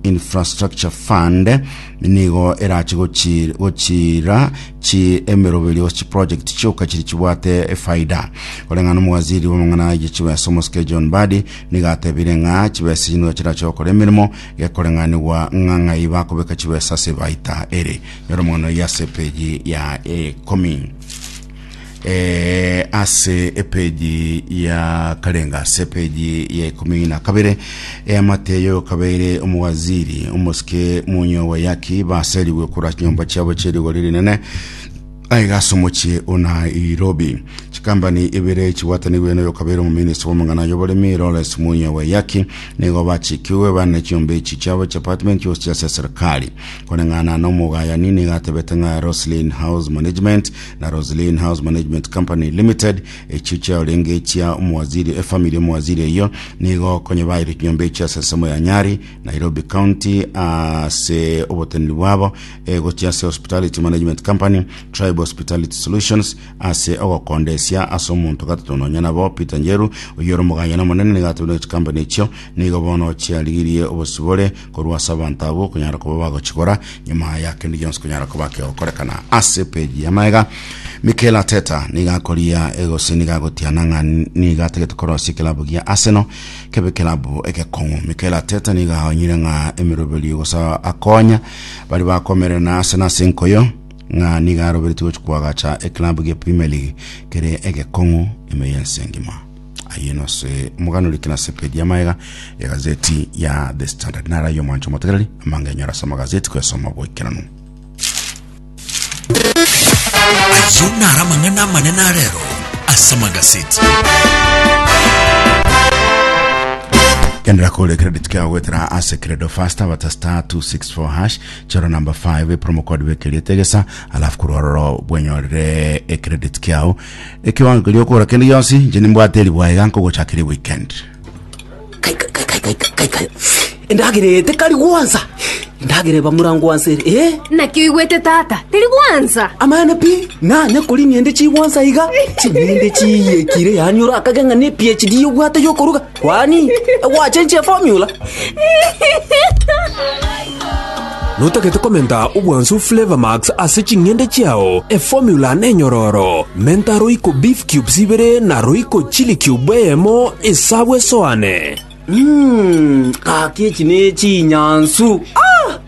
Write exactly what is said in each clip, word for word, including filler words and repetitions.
Infrastructure Fund nigo erache gochi gochira chi emeroberio chi project chioka chiri chibwate efaida. Koreng'ana omowaziri bw'amang'ana ye chibesa omosike John Mbadi nigo atebire ng'a chibesa echi nigo chirache gokora emeremo gekoreng'anigwa ng'a ng'ai bakobeka chibesa ase ebaita ere. Nyora omong'ana oyio ase epeji ya ikomi. Eh, ase epeji ya karenga ase epeji ya ikumi na kabere eamate yokabeire omowaziri omosike Munyo Waiyaki baserigwe korwa chinyomba chiabo chierigori rinene aiga ase omochie o Nairobi. Chikambani ibere chibwatanigwe noyokabeire omominista bw'amang'ana y'oboremi Lawrence Munya Waiyaki nigo bachikigwe bane chinyomba echi chiabo chiapartment gose ase serikali. Koreng'ana na omogayani nigo atebete ng'a Roslyn House Management na Roslyn House Management Company Limited echio chiarenge chia omowaziri efamiri y'omowaziri eyio nigo konye baire chinyomba echio ase ensemo ya Nyari, Nairobi County ase oboteneneri bwabo eh, gochia ase Hospitality Management Company, Tribe Hospitality Solutions ase ogokondesia ase omonto gatato nonya nabo Peter Njeru oyio ore omogayani omonene nigo atebire chikampani echio nigo bono chiarigirie obosibore korwa ase abanto abwo konyara koba bagochigora nyuma ya kende gionsi konyara koba kegokorekana ase peji ya maega. Mikel Arteta nigo akoria gose nigo agotiana ng'a nigo atagete korosia ekilabu gia Arsenal kebe ekilabu egekong'u. Mikel Arteta nigo aonyire ng'a emeroberio gose akonya baria bakomerera na Arsenal ase enkoyo ng'a nigo aroberetie gochia koagacha ekilabu gia Premier League kere egekong'u ime y'ense engima. Ayio nase omogano orikire ase page ya maega egazeti ya The Standard. Naro ayio omwancho omotegereri amange enyora ase amagazeti kwesoma boikeranu. Ayio naro amang'ana amanene arero ase amagaseti. Kendera kore credit kiago gwetera ase Credo Faster bata star two six four hash choro number five promo code bekerie tegesa alafu korwa ororo bwenyorere ecredit kiao ekiwango keria okogora kende gionsi inche nimbwate eribwa iga nkogochakera eweekend. Kai, kai, kai, kai, kai, kai. Endagera eye tekari gwansa, endagera eba morangwansa ere, eh? Naki oigwete tata, teri gwansa? Amaene pi, nanya koria ng'ende chigwansa iga, ching'ende chiiyekire yaani orakage ng'a ne PhD obwate yokoruga, kwani egwachenchia eformula? Notagete komenta obwansu Flavour Max ase ching'ende chiao? Eformula nenyororo. Menta Royco Beef Cubes ibere na Royco Chili Cube eyemo esabwe esoane. Mmm, gaki echi ne chinyansu. Ah!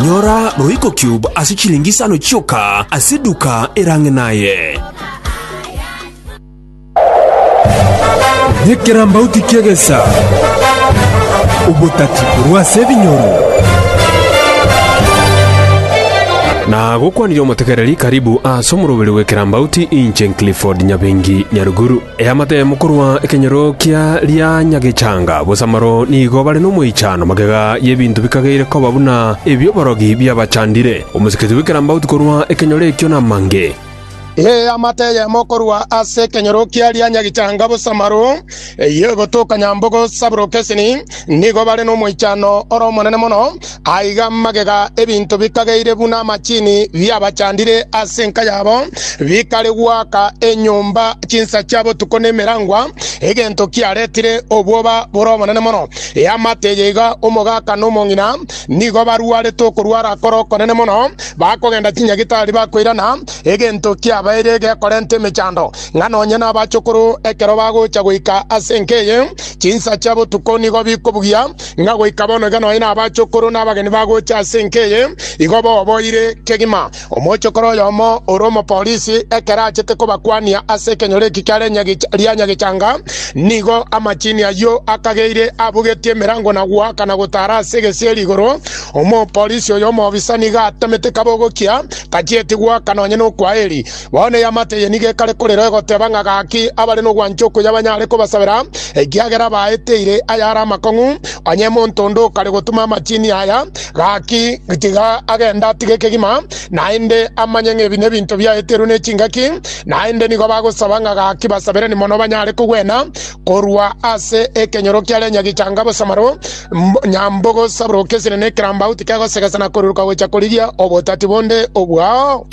Nyora Royco Cube ase chilingi isano chioka ase eduka erang'e naye. Nekerambauti ki'egesa, obotati korwa ase ebinyoro. Na gokwanirie omotegereri karibu ase omoroberi bw'ekerambauti inche Clifford Nyabengi Nyaruguru. Eamate korwa ekenyoro kia ria Nyagechanga Bosamaro nigo bare nomoichano magega y'ebinto bikageire koba buna ebi'oborogi biabachandire. Omoseketi bw'ekerambauti korwa ekenyoro ekio namange. Eamate eyemo korwa ase ekenyoro kia ria Nyagichanga Bosamaro, eyio egotoka Nyambogo Saburokesini, nigo bare nomoichano ore omonene mono. Aiga magega ebinto bikageire buna amachini biabachandire ase enka yabo, bikare goaka enyomba chinsa chia botuko nemerangwa, egento kiaretire obwoba bore obonene mono. Eamate eye iga omogaka na omong'ina nigo barwarete okorwara kore okonene mono, bakogenda chinyagitari bakoirana, egento kiabaire gekorenta emechando, ng'a nonye nabachokoro ekero bagocha goika ase enka eye chinsa chia botuko nigo bikobugia, ng'a goika bono iga nonye nabachokoro nabageni bagocha ase enka eye igo boboire kegima. Omochokoro oyomo ore omopolisi ekero achete kobakwania ase ekenyoro eki kiare ria Nyagechanga, nigo amachini ayio akageire abugetie emerango na goaka na gotara ase egesieri igoro. Omopolisi oyo omobisa nigo atemete kabogokia, tachieti goaka nonye nokwaeri. Bono eamate eye nigo ekare korera egoteba ng'a gaki abare nogwancha okuya banyare kobasabera, ekiagera baeteire ayare amakong'u. Onye monto onde okare gotuma amachini aya, gaki tiga agende atige kegima, naende amanye ng'a ebi nebinto biaeterwe ne chingaki. Naende nigo bagosaba ng'a gaki basabereni mono banyare kogwena korwa ase ekenyoro kiare Nyagichanga Bosamaro, Nyambogo Saburokesire na ekerambauti kegosegesa na koruruka gocha korigia obotati bonde obwao.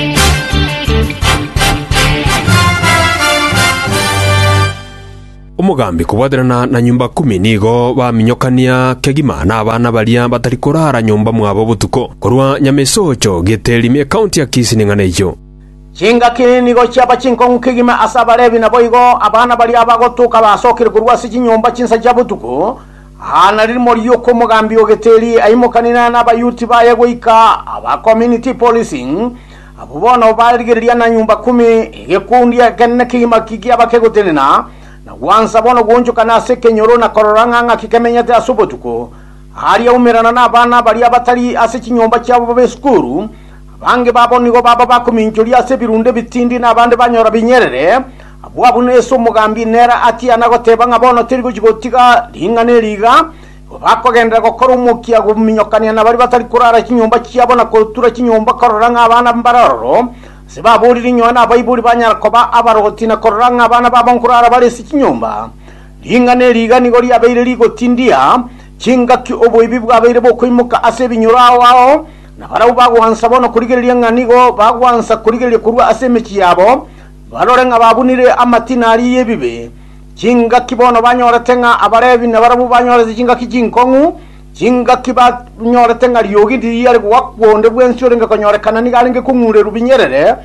Omogambi kobwaterana na nyumba kumi nigo baminyokania kegima na abana baria batari korara nyomba mwabo botuko korwa Nyamesocho Giteri ekaunti ya Kisii ning'ana eyo. Chingaki nigo chiaba chinkong'u kegima ase abarebi nabo igo abana baria bagotuka basokire korwa ase chinyomba chinsa chia botuko. Ana ririmo rioko omogambi o Giteri aimokanina na abayuti baye goika aba community policing abo bono barigereria na nyumba kumi egekundi ekenene kegima kigiaba kegotenena na gwansa bono gwonchokana ase ekenyoro na korora ng'a ng'aki kemenyete ase obotuko. Aria umerana na abana baria batari ase chinyomba chiabo b'esukuru abange babo nigo baba bakominchoria ase ebirunde bitindi na abande banyora binyerere. Abwo abwo nese omogambi nera atiana goteba ng'a bono teri gochi gotiga ring'ana eriga bakogendera gokora omokia gominyokania na bari batari korara chinyomba chiabo na kotura chinyomba korora ng'a abana mbarororo ase baborire inyowe na abaibori banyara koba abarogoti na korora ng'a abana babo nkorara bare ase chinyomba. Ring'ana eriga nigo riabeire rigotindia chingaki oboibi bwabeire bokoimoka ase ebinyoro ao ao na barabwo bagwansa bono korigereria ng'a nigo bagwansa korigereria korwa ase emechi yabo barore ng'a babunire amatina aria y'ebibe. Chingaki bono banyorete ng'a abarebi na barabwo banyorete chingaki chinkong'u chingaki banyorete ng'a riogi ndiriare gwakwonde bwensi orenge konyorekana nigo arenge kong'urerwa binyerere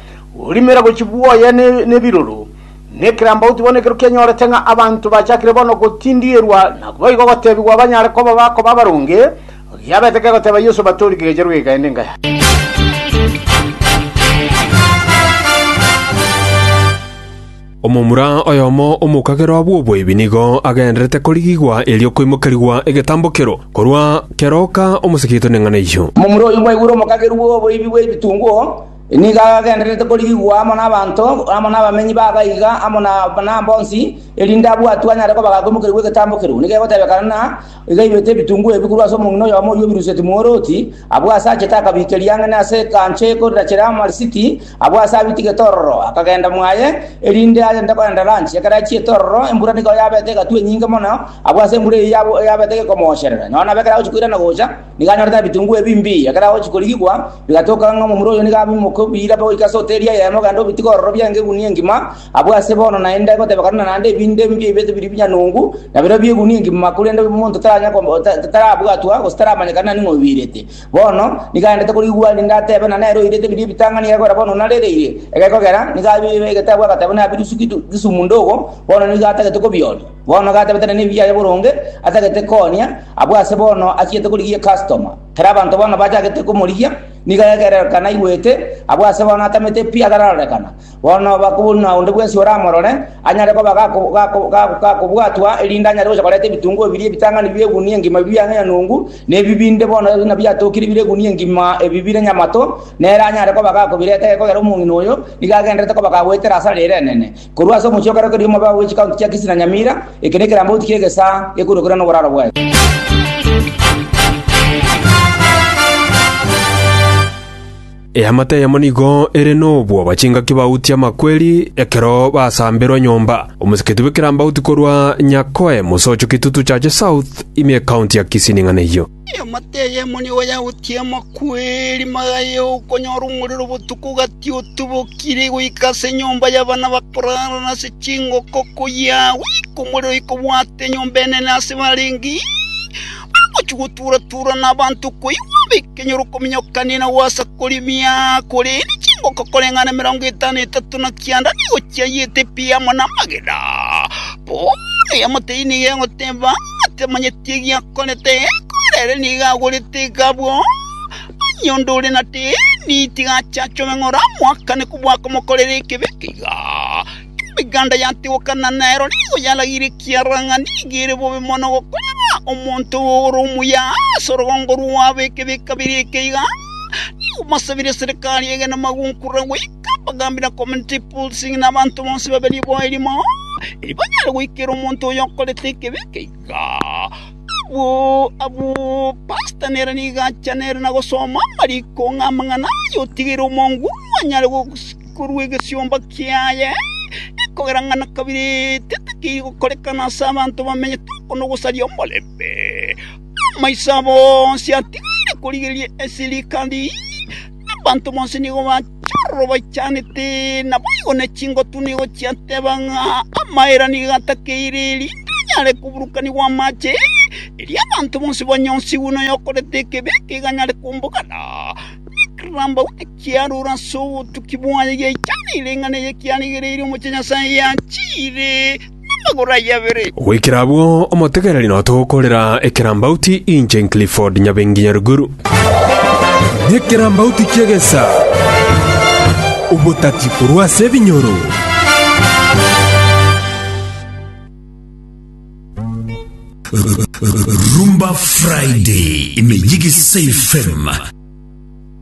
orimera gochi bwoye n'ebiroro. Nekerambauti bono ekero kianyorete ng'a abanto bachakire bono gotindierwa na boigo gotebigwa banyare koba bakoba abaronge giabete kegoteba Yesu batori kegecherwa gekaende ngaya. Omomura oyomo omokagero abwo oboibi nigo agenderete korigigwa erio koimokerigwa egetambokero korwa keroka omosekito neng'ana eyo. Omomura oyo bwaigure omokagero bw'oboibi bw'ebitunguo nigo agenderete korigigwa amo n'abanto amo n'abamenyi bagaiga amo na mbonsi erinde abwatwa anyare koba gakoimokerigwa egetambokero. Nigo egotebekana na iga ibete ebitunguo ebi korwa ase omong'ina oyomo oywo obiruseti mworoti abwo ase achete akabikeria ang'e ase ekanche ekorera amarisiti abwo ase abitigete ororo akagenda mwaye erinde agende kogenda lunch. Ekero achiete ororo embura nigo yabete egatwa enyinge mono abwo ase embura eywo yabete egekomosherera nonya nabo ekero agochi koirana gocha nigo anyorete ebitunguo ebi mbiya. Ekero agochi korigigwa bigatoka ng'a omomura oyo nigo abimoka obira goika ase hoteli eyemo ogenda obitiga ororo biange egunia engima abwo ase bono naende egotebekana naende ebinde mbia ebete biri binyanungu na biro bia egunia engima korende omonto taranya tarabwatwa gose taramanyekana ning'o obirete. Bono nigo aendete korigwa rinde atebe na nere oirete biri ebitang'ani egekora bono narereire egekogera nigo egetabwa agateba nabirusu Kisumu ndogo bono nigo atagete kobionia. Bono gatebete na ebiaye boronge atagete koonia abwo ase bono achiete korigia customer. Kera abanto bono bachagete komorigia nigo egerekana igwete abwo ase bono atamete pi atararorekana. Bono bakobuna onde bwensi oramorore anyare koba gakobwatwa erinde anyare gocha koreta ebitunguo biri ebitang'ani bia egunia engima biang'e nyanungu na ebibinde bono na biatokire bire egunia engima ebi bire nyamato nere anyare koba gakobireta egekogera omong'ina oyo nigo agenderete koba gagwetera ase arere enene. Korwa ase omochie okerokeria omobe bwa chikaunti chia Kisii na Nyamira eke nekerambauti kia egesa gekorokera na oboraro bwaye. Eamate yamo nigo ere nobwoba chingaki bautia amakweri ekero basamberwa nyomba. Omoseketi bw'ekerambauti korwa Nyakoe Mosocho Kitutu Chache South ime ekaunti ya Kisii ning'ana eyo. Eamate yamo nigo yautia amakweri magaye okonyora omorero botuko gati otubokire goika ase enyomba y'abana bakorara na ase chingoko koya goika omorero ikobwate enyomba enene ase barengi gochigoturatura n'abanto koigwa bekenyoro kominyokania na gwasa korimia korende chingoko koreng'ana emirongo etano etato na kianda nigo chiayete pi amo n'amagena. Bono eamate nigo egoteba atemanyeti egiakorete korere nigo agorete egabwo onye ore na teni tigachachobe ng'ora mwakane kobwaka mokorere ekebe keiga. Emeganda yatigokana nero nigo yaragire kiarang'a nigo ere bobe mono gokorera omonto ore omuya ase orogongo rwabo ekebe kabere ekeiga. Nigo masabire serikali egene magunkura goika abagambi na community policing n'abanto bonsi babere bo erimo eri banyare goikera omonto oyo okorete ekebe keiga. Abo abo pastor nere nigo acha nere na gosoma amariko ng'a amang'ana ayo otigere omongu anyare korwa egesiomba kiaye ekogera ng'ana kabere tetakiri gokorekana ase abanto bamenyete oko nogosaria omorembe. Amaisa bonsi atigaire korigereria esirikali abantu bonsi nigo Chororo baichanete naboigo ne chingotu nigo chiateba ng'a amaera nigo atakeire erinde anyare kuburukanigwa amache eri abanto bonsi banyonsigwe noyokorete ekebe ekeganyare kumbugana ramba kiarura ase obotuki bwaye giaichanire eng'ana eye kiarigereire omoche Nyasaye yachire n'amagoro aye abere. Gwikira abwo omotegereri notogokorera ekerambauti inche Clifford Nyabengi Nyaruguru. Nekerambauti kiegesa obotati korwa ase ebinyoro. Rumba Friday imejigi F M.